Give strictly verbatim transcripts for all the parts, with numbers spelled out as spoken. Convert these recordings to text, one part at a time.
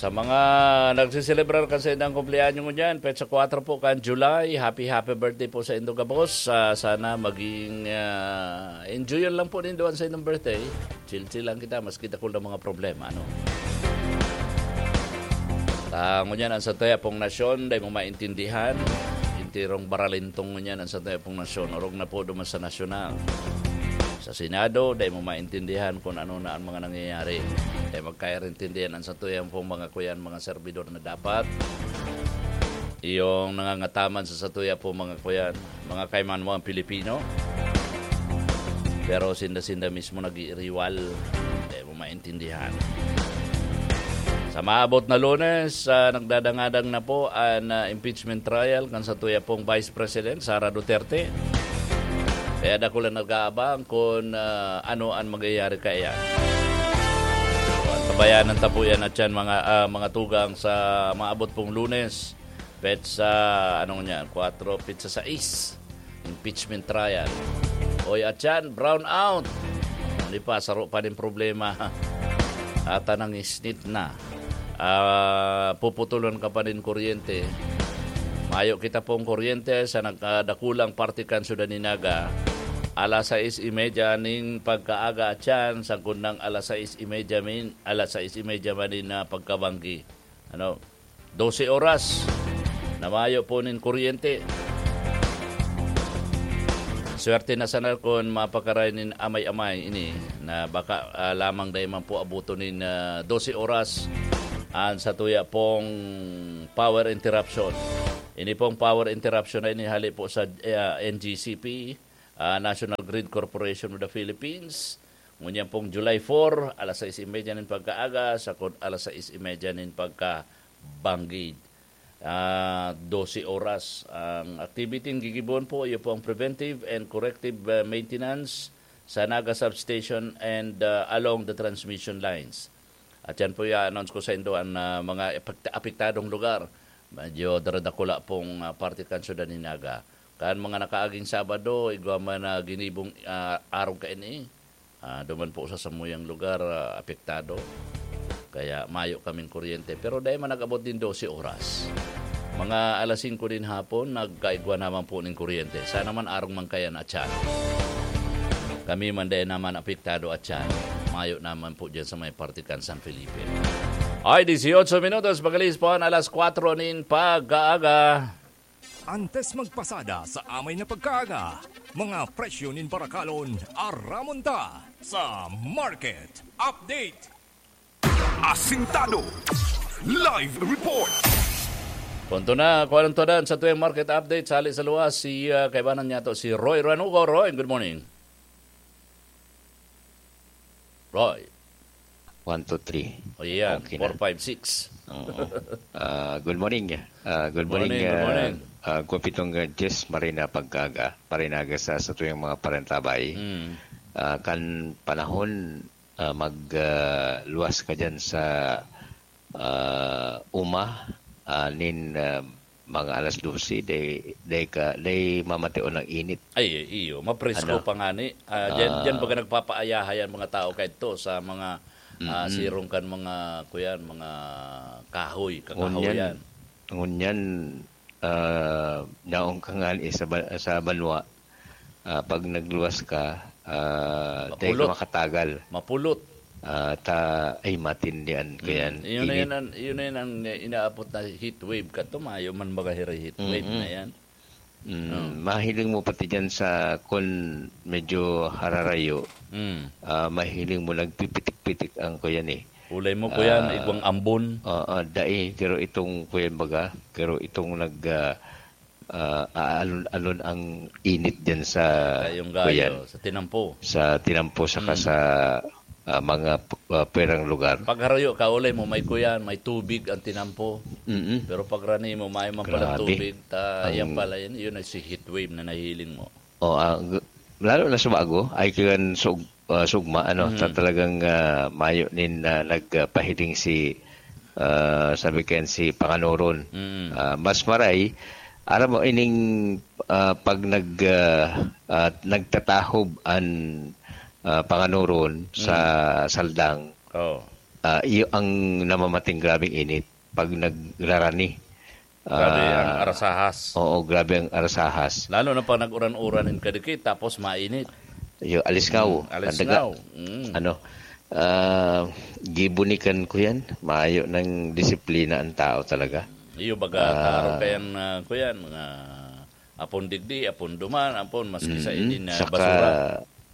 Sa mga nagsiselebrar kan saindang kumpleanyo ngunyan, petsa kwatro po kan July, happy, happy birthday po sa indo gabos. Ah, sana maging, ah, enjoyan lang po nindo an saindong birthday. Chill-chill lang kita, maski dakul na mga problema, ano? Ta, ngunyan, ang satuya pong nasyon, dai mo maintindihan. Enterong baralintong ngunyan ang satuya pong nasyon. Orog na po duman sa nasyonal. Sa Senado, dai mo maintindihan kung ano na ang mga nangyayari. Dai magkairintindihan ang satuya pong mga kuyan, mga servidor na dapat iyong nangangataman sa satuya pong mga kuyan, mga kaimanuang Pilipino. Pero sinda-sinda mismo nag-iiriwal. Dai mo maintindihan. Sa maabot na Lunes, ah, nagdadangadang na po an, ah, impeachment trial kan satuya pong Vice President, Sara Duterte. Kaya dakul na nag-aabang kun, ah, ano an mangyayari kaiyan. Tabayanan ta po yan at yan, mga, ah, mga tugang, sa maabot pong Lunes, petsa, anong niyan, kwatro, petsa sais, impeachment trial. Oy, at yan, brown out. Ano pa, saro pa nin problema. Ata nang isnit na. Ah, puputulon ka pa nin kuryente. Mayo kita pong kuryente sa nagkadakulang parte kan syudad ni Naga. Alas sais y media nin pagkaaga at yan, sagkod ng alas sais y media min, alas sais y media man nin, ah, pagkabanggi. Ano? Dose oras na mayo po nin kuryente. Swerte na sana kun mapakaray nin amay-amay ini na baka, ah, lamang dai man po abuton nin, ah, dose oras an satuya pong power interruption. Ini pong power interruption na ini hali po sa, ah, N G C P, ah, National Grid Corporation of the Philippines. Ngunyan pong July four, alas sais y media nin pagkaaga, sagkod alas sais y media nin pagkabanggi. Ah, dose oras ang activity. Ang gigibohon po, iyo po ang preventive and corrective, ah, maintenance sa Naga Substation and, ah, along the transmission lines. At yan po i-announce ko sa indo an, ah, mga epekta-, apektadong lugar. Medyo daradakula pong, ah, parte kan syudad ni Naga. Kan mga nakaaging Sabado, igwa man na ginibong, ah, arog kaini. Ah, duman po sa samuyang lugar, ah, apektado. Kaya mayo kaming kuryente. Pero dai man nag-abot nin dose oras. Mga alas singko nin hapon, nagkaigwa naman po nin kuryente. Sana man arog man kaya na tiyan. Kami man dai naman apektado at tiyan. Mayo naman po dyan sa may parte kan San Felipe. Ay, dieciocho minutos, magalis po ang alas kwatro nin pag-aaga. Antes magpasada sa amay na pagkaaga, mga presyo nin barakalon, aramon ta sa Market Update. Asintado. Live report. Punto na, kuha ng tuwadan sa tuwing market update. Sali sa luwas, si, ah, kaibanan niya to, si Roy Ranugo. Roy, good morning. Roy. One, two, three. O, yan. Okay na. Four, five, six. Oo. Ah, good morning. Ah, good morning, Morning, good ah, morning. ah, Gupitong, ah, Jess Marina Pagkaga, Parinaga sa, sa tuyang mga parantabay. Mm. Ah, kan panahon, ah, mag, ah, luwas ka dyan sa, ah, uma, ah, nin, ah, mga alas dose, day, day ka, day mamatiyon ng init. Ay, iyo, mapresko Ano? pa nga ni. Ah, diyan, Ah. diyan baga nagpapaayahay ang mga tao kaidto sa mga, ah, Mm-mm. sirong kan mga, kuyan, mga kahoy, kakahoyan. Ngunyan, ngunyan, ah, naong ka nga ni sa ba-, sa banwa, ah, pag nagluwas ka, ah, day ka Mapulot. makatagal. Mapulot. Ah, ta-, ay, matindihan ko Mm. yan. Yun na Init. yun ang, yun na yun ang inaapot na heat wave. Kato, mayo man baga hiri heat wave Mm-mm. na yan. Mm, Oh. mahiling mo pati dyan sa, kun medyo hararayo, Mm. ah, mahiling mo nagpipitik-pitik ang kuyan eh. Ulay mo, kuyan, Ah, igwang ambon. Oo, dai, pero itong kuyan baga, pero itong nag, ah, ah, aalon-alon ang init dyan sa Kayong gayo, kuyan. sa tinampo. Sa tinampo, saka Mm. sa, ah, mga p-, ah, perang lugar. Pag harayo ka, ulay mo, may kuyan, may tubig ang tinampo. Mm-mm. Pero pag rani mo, may man palang Grabe. tubig, ta, Ang yan pala yun, yun ay si heat wave na nahiling mo. Oh, ah, g-, lalo na sa Bago, ay kayan sug-, ah, sugma, ano, Mm. ta-, talagang, ah, mayo nin, ah, nagpahiling si, ah, sabi kayan si Panganoron. Mm. Ah, mas maray, aram mo, ining, ah, pag nag, ah, ah, nagtatahob an, ah, Panganoron sa Mm. Saldang, Oh. ah, iyo ang namamating grabeng init pag nagrarani. Grabe ang Ah, arasahas. Oo, grabe ang arasahas. Lalo na pag nag-uran-uran in kadikit, tapos mainit. Iyo, alisngaw. Mm, alisngaw. Kandaga. Mm. Ano, ah, gibo ni kan ko yan. Maayo ng disiplina ang tao talaga. Iyo, baga, Ah. Taro kayan, ah, ko yan, mga apon digdi, apon duman, apon maski sa Mm, inin, ah, saka basura.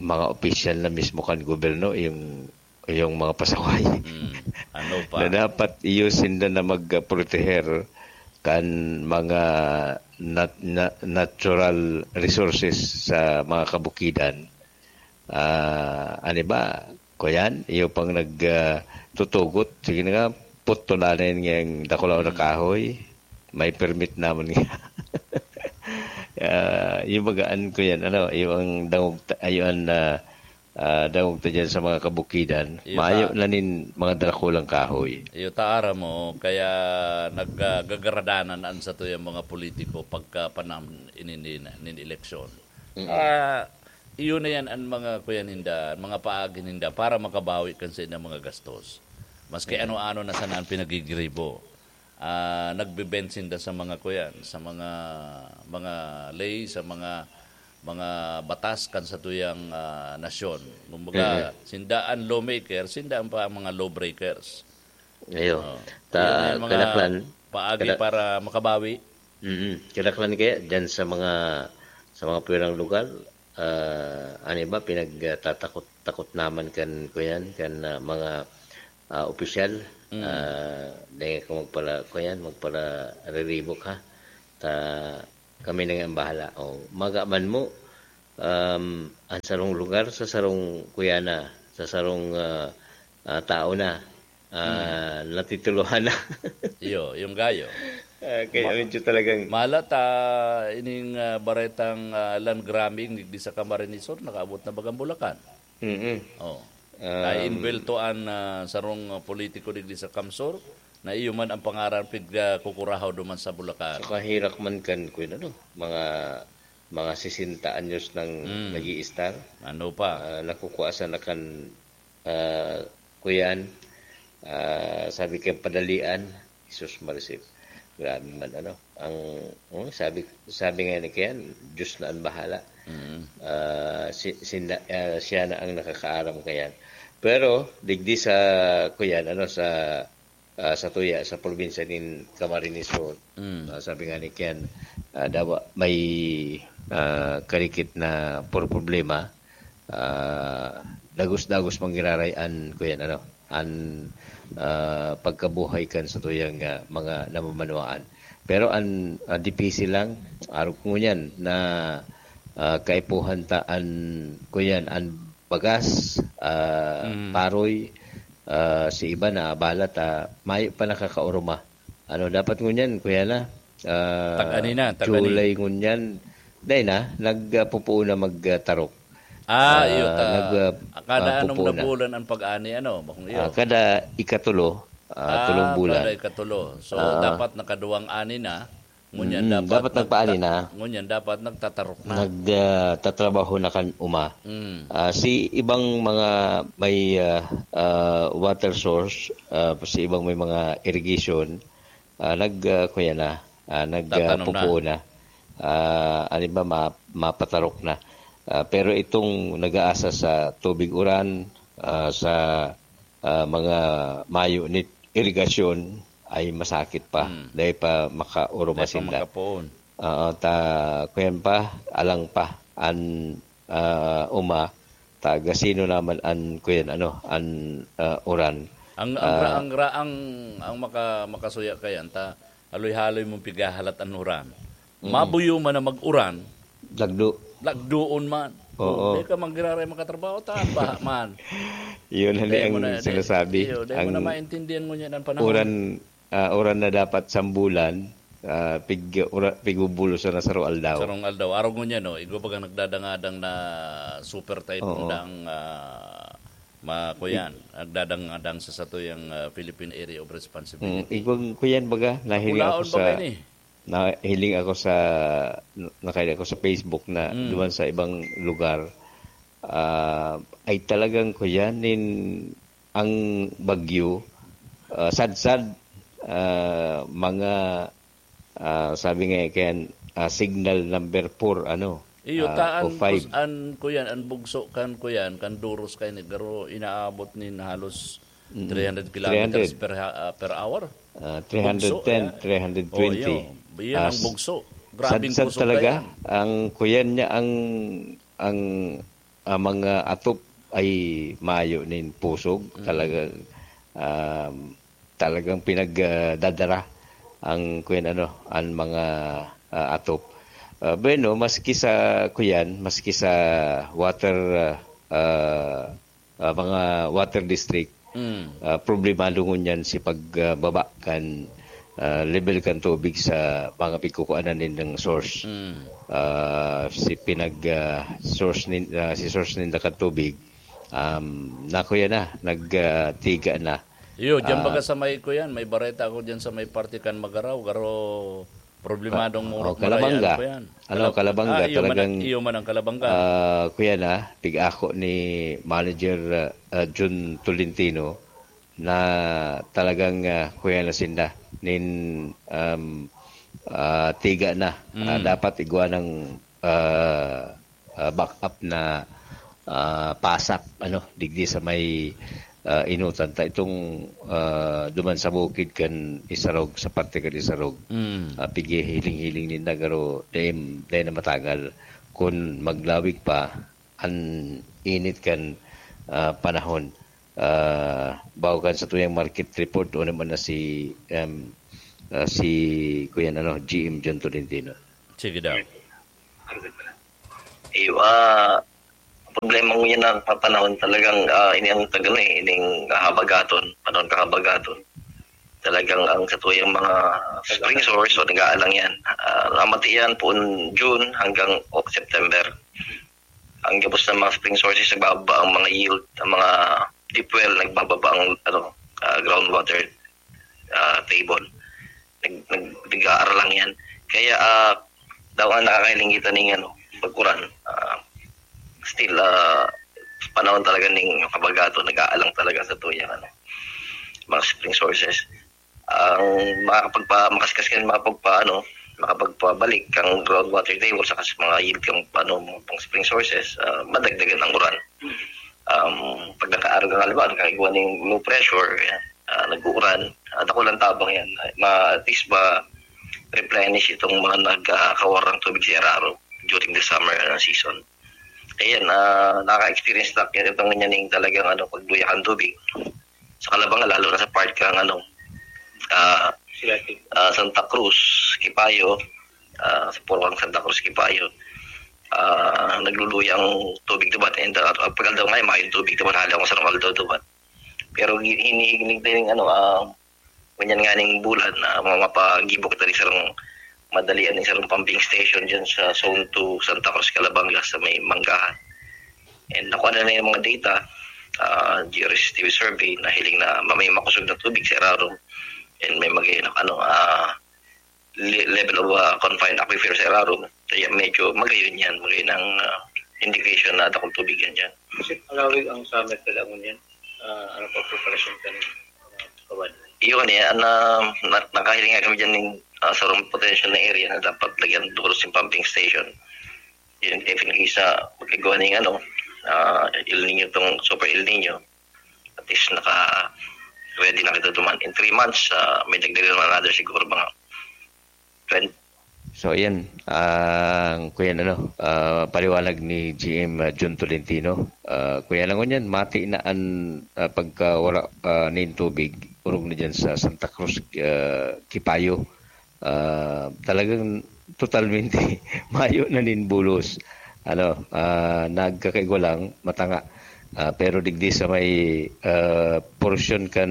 Mga opisyal na mismo kan gobyerno, yung, yung mga pasaway. Mm, ano pa? Na dapat iyo sinda na magproteher kan mga nat-, na-, natural resources sa mga kabukidan. Ah, ano ba? Kuyan, iyo pang nag, ah, tutugot. Sige na nga, putulan na yun ngayang dakulaw na Mm. kahoy. May permit naman nga. Ah, yung bagaan ko yan, ano, yung ang dangog ta-, ayun, ah, ah, dangog ta dyan sa mga kabukidan. Iyo Maayo ta- na nin mga dakulang kahoy. Iyo ta, aram mo, kaya nag-, ah, gagaradanan an satuyang mga politiko pagka panahon ini nin, nin eleksyon. Mm. Ah, iyo na yan an mga kuya ninda, an mga paagi ninda para makabawi kan saindang mga gastos. Maski Mm. ano-ano na sana an pinagigiribo. Ah, nagbe-bend sinda sa mga kuyan, sa mga, mga ley, sa mga, mga batas kan satuyang, ah, nasyon. Kumbaga, Mm. sinda an lawmaker, sinda an pa mga lawbreakers. Iyo. Oo. Ta-, Yun yung mga kadaklan, paagi kada-, para makabawi. Mm. Kadaklan kaya dyan sa mga, sa mga pwerang lugar, ah, ano ba, pinagtatakot-takot naman kan, kuyan, kan, ah, mga, ah, opisyal. Mm. Ah, dahil ka magpala, kuyan, magpala riribok, ha? Ta, kami na nga ang bahala. O, maga man mo, um, ang sarong lugar sa sarong kuya na, sa sarong, ah, ah, tao na, ah, Mm. natituluhan na. Iyo, yung gayo. Ah, kaya Ma-, medyo talagang malat, ah, ining, ah, baretang, ah, land grabbing digdi sa Camarines Sur, nakaabot na bagang Bulacan. Mm-mm. Oh. Um, Naimbelto an, ah, sarong, ah, politiko digdi sa Camsur, na iyo man ang pangaran pig, ah, kukurahaw duman sa Bulacan. Saka hirak man kan, kun ano, mga, mga sesenta anyos nang Mm. nag-iistar. Ano pa? Ah, nakukuwasan na kan, ah, kuyan. Ah, sabi kang padalian, Jesus Marisip. Grabe man, ano. Ang, oh, sabi, sabi nga ni Ken, Diyos na ang bahala. Mm. Ah, si, sinda-, ah, siya na ang nakakaaram kayan. Pero, digdi sa, kuyan, ano, sa, ah, sa tuya, sa probinsya nin Camarines Sur, Mm. ah, sabi nga ni Ken, ah, dawa may, ah, karikit na por-, problema, ah, dagos-dagos manggiraray an, kuyan, ano, an, ah, pagkabuhay kan satuyang, ah, mga namamanwaan. Pero an, ah, dipisi lang, arog ko ngunyan na, ah, kaipuhan ta an, kuyan, an bagas, ah, Mm. paroy, ah, si iba na abala ta mayo pa nakakaoroma. Ano, dapat ngunyan, kuya na, ah, Tag-ani na, tag-ani. July ngunyan, dai na, nag, ah, pupuon na magtarok. Ah, iyo Ah, ta. nag, ah, Kada ah, anong pupuon na. Nabulan ang pag-ani, ano, bakong iyo? Ah, kada ikatulo, ah, Ah, tulong bulan. Kada ikatulo. So, Ah. dapat nakaduwang ani na. Ngunyan Mm, dapat dapat nagpaani nagta-, na. Ngunyan dapat nagtatarok na. Nag, ah, tatrabaho na kan uma. Mm. Ah, si ibang mga may, ah, ah, water source, ah, si ibang may mga irrigation, ah, nag, ah, kuya na, ah, nag, ah, Tatanom na. Pupuo na. Ah, ano ba, ma-, mapatarok na. Ah, pero itong nag-aasa sa tubig uran, ah, sa, ah, mga mayo ni irigasyon ay masakit pa. Hmm. Dahil pa makauruma Dahil pa sinda. Makapoon. Oo, ta, kuyan pa, alang pa, an, ah, uma, taga sino naman an, kuyan, ano, an, ah, uran. Ang, ang, Ah. Ra-, ang, ra-, ang, ang maka-, makasuya kayan, ta, haloy-haloy mong pighahalat an uran. Mm. Mabuyo man na mag-uran, Lagdo. Lagdoon man. Oo. Di ka magiraray makatrabaho, ta, baha man. Yun, hali Dahil ang mo na, di-, sinasabi. Iyo, dahil mo Ang na maintindihan mo niya ng panahon. Uran, ah, uran na dapat sambulan, ah, pig-, ura-, pigbubulos na sa aldaw. Sarong aldaw. Araw ngunyan, no? Igwa bagang nagdadangadang na super typhoon Oo. Dang, ah, ma-, kuyan. Nagdadangadang sa satuyang, ah, Philippine Area of Responsibility. Mm, igwang kuyan baga, nahiling Nakulaon ako sa baga ini. Nahiling ako sa, nakahiling ako sa Facebook na Mm. duman sa ibang lugar, ah, ay talagang kuyan nin ang bagyo, ah, sadsad, ah, mga, ah, sabi nga kan, ah, signal number four, ano, Iyo, ah, taan o five. Kus-, an, kuyan, an bugso kan, kuyan, kan Duros kaini, garo inaabot nin halos Mm. three hundred kilometers three hundred. per ha-, ah, per hour. Ah, three hundred ten, Bugso, yeah. three hundred twenty. Oh, iyo. Iyan ang Ah, s-, bugso. Grabing sadsad pusog talaga. Kayan. Ang kuyan niya, ang, ang, ah, mga atop ay mayo nin pusog. Mm. Talagang, um, talagang pinag, ah, dadara ang kuyan, ano, ang mga, ah, atop. Ah, bueno, maski sa kuyan, maski sa water, ah, ah, ah, mga water district, Mm. ah, problemado ngunyan si pag, ah, baba kan, ah, level kan tubig sa mga pigkukuanan nindang source. Mm. Ah, si pinag, ah, source nin-, ah, si source ninda kan tubig, um, nakuya na, nag, ah, tiga na. Iyo, diyan Ah. baga sa may, kuyan, may bareta ako diyan sa may parte kan Magaraw, garo problemadong Oh, murot oh, Kalabanga. Malay, ano pa yan? Ano, Kalab-, Kalabanga, ah, iyo man, talagang, iyo man ang Kalabanga. Ah, kuya na, pig-ako ni Manager, ah, ah, Jun Tolentino na talagang, ah, kuya na sinda nin, um, ah, tiga na. Ah, Mm. dapat igwa ng, ah, ah, backup na, ah, pasak, ano, digdi sa may, ah, inutan ta itong, ah, duman sa bukid kan Isarog, sa parte kan Isarog. Mm. Ah, pighihiling-hiling ninda, garo dai, dai na matagal. Kun maglawig pa an init kan, ah, panahon, ah, bago kan sa tuyang market report, o naman na si, em, ah, si Kuya, ano, G M John Tolentino. Sige daw. Iyo, ah, problema ngunyan na panahon talagang, ah, ini ang tag-, ano, eh, ining habagaton, panahon kahabagaton. Talagang ang satuyang mga spring source, so, nag-aalang yan. Ah, namati yan poon June hanggang Oc-, September. Ang gabos ng mga spring sources, nagbababa ang mga yield, ang mga deep well, nagbababa ang, ano, ah, groundwater, ah, table. Nag-, nag-, nag-aaralang yan. Kaya, ah, daw ang nakakahiling kita ning, ano, pagkuran, ah, still, ah, panahon talaga ning habagaton, nag-aalang talaga satuyang, ano, mga spring sources. Ang makakapagpa-, makaskas kan makapagpa-, ano, makapagpabalik kang groundwater table saka sa mga yield kang, ano, mga pang spring sources, ah, madagdagan ang uran. Um, pag nakaarog ang alban, kaya gawa ng low pressure, yan, ah, nag-uuran, ah, dakulang tabang yan. Ma-, at least ma-replenish itong mga nagkakawar ng tubig sa Iraro during the summer, ano, season. Ayan, ah, naka-experience na kaya itong ganyan yung talagang, ano, pagduya ng tubig. Sa Kalabanga, lalo na sa part kang, ano, ah, Sila, ah, Santa Cruz, Kipayo, ah, sa Purwang Santa Cruz, Kipayo, ah, nagluluya ang tubig duman. And, ah, pag aldaw ngayon, mayong tubig duman, hali akong sarong aldaw duman. Pero hi-, hinihiling din, ano, ah, ganyan nga ning bulan na mga mapagibo kita ni sarong madalian ni sarong pumping station dyan sa Zone two, Santa Cruz, Calabanga, sa may Manggahan. And nakuha na na yung mga data, ah, G R S T V survey, na hiling na ma-, may makusog na tubig sa Iraro. And may mag-, ano, ah, le-, level of, ah, confined aquifer sa Iraro. Kaya medyo magayon yan, magayon ang, ah, indication na dakong tubig yan dyan. Kasi palawig ang summer kailangan yan. Ah, ano pa preparasyon ka ng mga kawan? Yun eh, na, na, nakahiling nga kami dyan ng, ah, sarong potential na area na dapat lagyan duros yung pumping station. Yun, definitely sa pagkagawa ng ano, ah, El Nino, tong Super El Nino, at least naka-ready na kita duman. In three months, ah, may dagdagan naman another siguro mga twenty. So, ayan, ang kuyan, ano, ah, paliwanag ni G M, ah, Jun Tolentino. Ah, kuya lang ngunyan, mati na an, ah, pagkawara, ah, nin tubig, orog na dyan sa Santa Cruz, ah, Kipayo. Ah, talagang totalmente mayo na nin bulos. Ano, ah, nagkakaigwa lang, matanga. Ah, pero digdi sa may, ah, porsyon kan,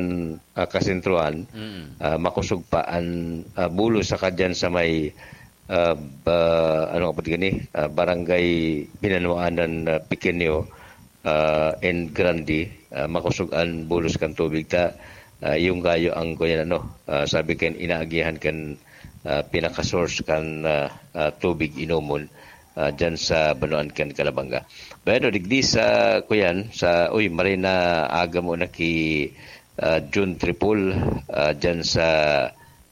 ah, kasentruhan, Mm. ah, makusog pa an, ah, bulos sa kadyan sa may, ah, ba-, ano ka pa gani? Ah, Barangay Binanuanan, ah, Pequeño, ah, and Grande, ah, makusog an bulos kan tubig ta, ah, yung gayo ang kuyan, ano, ah, sabi kan inaagihan kan, ah, pinaka-source kan, ah, ah, tubig inomon, ah, dyan sa Banuan kan Calabanga. Pero digdi sa kuyan, sa, uy, maray na aga mo na ki, ah, Jun Tripol, ah, dyan sa,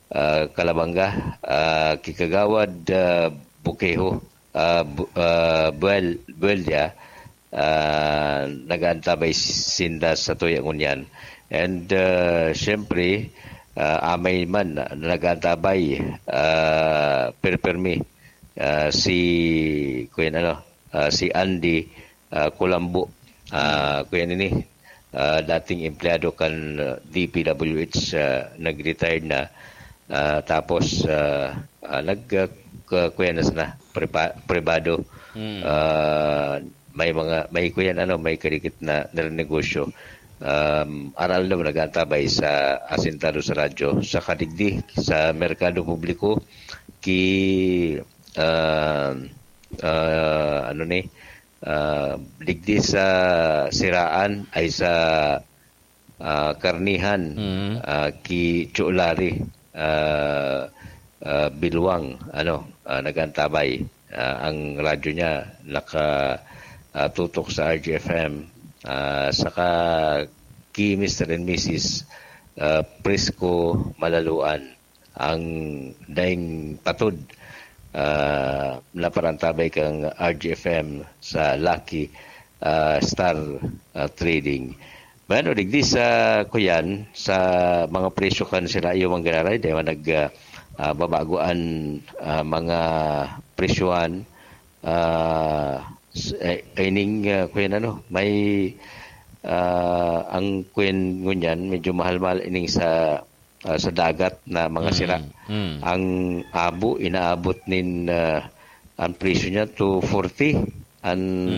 ah, Calabanga, ah, ki Kagawad, ah, Bukeho, ah, Bu-, ah, Buel-, Bueldia, ah, nag-aantabay sinda sa tuya ngunyan. And, ah, siyempre, ah, amay man na nag-aantabay, ah, perpermi, ah, si, kuyan ano, ah, si Andy, ah, Kulambo. Ah, kuyan ini, ah, dating empleyado kan, ah, D P W H, ah, nag-retired na. Ah, tapos, ah, ah, nag, ah, k-, kuyan na sana, prepa-, pribado. Ah, may mga, may kuyan, ano, may karikit na, na negosyo. Um, aral na nag-aantabay sa asintado sa radyo, sa kadigdi, sa merkado publiko, ki, ah, ah, ano ni, ah, digdi sa siraan ay sa, ah, karnihan, ah, ki Chulari, ah, ah, Bilwang, ano, ah, nag-aantabay. Ah, ang radyo niya naka, ah, tutok sa R G F M, ah, saka ki Mister and Missus, ah, Prisco Malaluan. Ang daing patod, ah, na parantabay kan R G F M sa Lucky, ah, Star, ah, Trading. Bueno, digdi sa kuyan, sa mga presyo kan sira iyo man giraray, dahil nag, ah, ah, babago an, ah, mga presyohan, ah, s-, eh, ining, ah, kuyan ano, may, ah, ang kuyan ngunyan, medyo mahal-mahal ining sa, ah, sa dagat na mga sira. Mm. Ang abo, inaabot nin, ah, ang presyo niya two forty. Ang